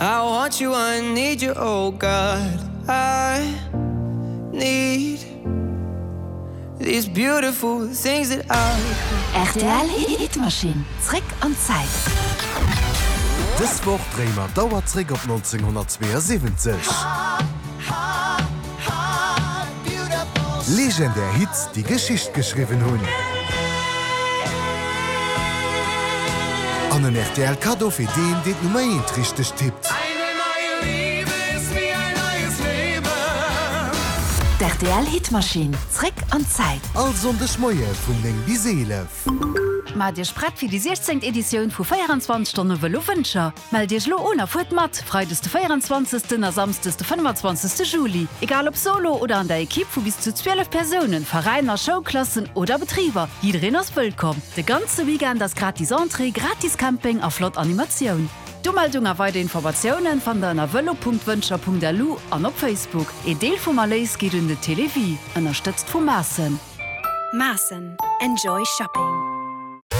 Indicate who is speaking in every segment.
Speaker 1: I want you, I need you, oh God I need these beautiful things that I.
Speaker 2: Rtl Hitmachine, zréck an d'Zäit.
Speaker 3: Dës Woch dréie mer d'Auer zréck op 1972. Legendär Hits, déi Geschicht geschriwwen hunn. An en rtl Kaddo fir deen, deen d'Nummer eent richteg tippt.
Speaker 2: D'RTL Hitmaschinn, zréck an d'Zäit.
Speaker 3: All Sonndeg Moie vun 9 bis 11.
Speaker 2: Maacht Iech prett fir déi 16. Editioun vu 24 Stonne Vëlo Wëncher! Mellt Iech elo un a fuert mat, Freides de 24. a Samsdes de 25. Juli. Egal ob solo oder an der Ekipp vu bis zu 12 Persounen, Veräiner, Schoulklassen oder Betriber, jiddereen ass wëllkomm. De ganze Weekend ass gratis Entrée, gratis Camping a flott Animatioun. D'Umeldung a weider Informatiounen fannt der ënner vëlo.wëncher.lu an op Facebook. Een Deel vum Erléis geet un de Télévie, ënnerstëtzt vu Maassen.
Speaker 4: Maassen, Enjoy Shopping.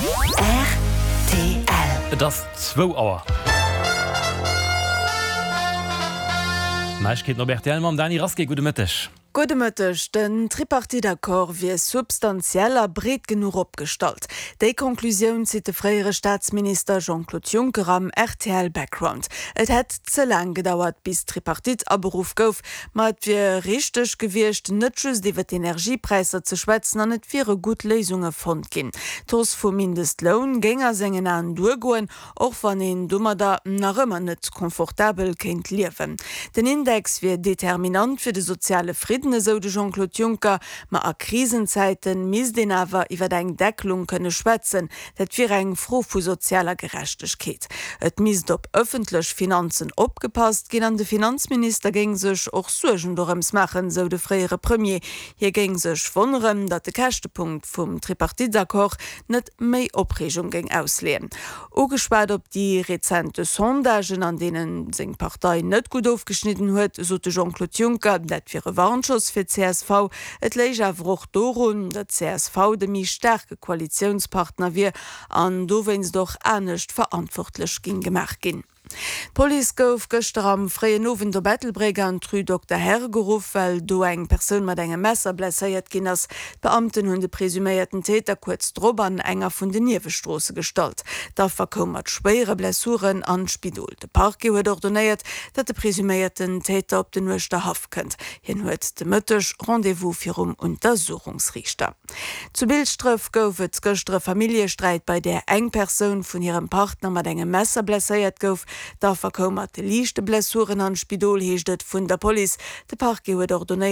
Speaker 2: Rtl.
Speaker 5: Et ass zwou Auer. Neiegkeeten op rtl mam Dany Rasqué. Gudde Mëtteg.
Speaker 6: Gudde Mëtteg. Den Tripartite-Accord wier substantiell a breet genuch opgestallt. Déi Conclusioun zitt de fréiere Staatsminister Jean-Claude Juncker am rtl Background. Et hätt ze laang gedauert, bis d'Tripartite aberuff gouf. Ma et wier richteg gewiescht, net just iwwer d'Energiepräisser ze schwätzen an et wiere gutt Léisunge fonnt ginn. D'Hausse vum Mindestloun géing a sengen Aen duergoen, och wann een domadder nach ëmmer net confortabel kéint liewen. Den Index wier determinant fir de soziale Fridden, esou de Jean-Claude Juncker. Ma a Krisenzäite misst een awer iwwer eng Deckelung kënne schwätzen. Dat wier eng Fro vu sozialer Gerechtegkeet. Et misst op ëffentlech Finanzen opgepasst ginn an de Finanzminister géing sech och Suergen dorëms maachen, esou de fréiere Premier. Hie géing sech wonneren, datt de Käschtepunkt vum Tripartite-Accord net méi Opreegung géing ausleeën. Ugeschwat op déi rezente Sondagen, an deene seng Partei net gutt ofgeschnidden huet, sot de Jean-Claude Juncker, dat wier e Warnschoss fir d'CSV. Et léich awer och dorun, datt d'CSV de méi staarke Koalitiounspartner wier an dowéinst och anescht verantwortlech géing gemaach ginn. D'Police gouf gëschter am fréien Owend op Ettelbréck an d'Rue Dokter Herr geruff, well do eng Persoun mat engem Messer blesséiert ginn ass. D'Beamten hunn de presuméierten Täter kuerz drop an enger vun den Niewestroosse gestallt. D'Affer koum mat schwéiere Blessuren an d'Spidol. De Parquet huet ordonéiert, datt de presuméierten Täter op den Uerschterhaff kënnt. Hien huet de Mëtteg Rendez-vous virum Untersuchungsriichter. Zu Bilschdref gouf et gëschter e Familljesträit, bei där eng Persoun vun hirem Partner mat engem Messer blesséiert gouf. D'Affer koum mat liichte Blessuren an d'Spidol, heescht et vun der Police. De Parquet huet ordonéiert.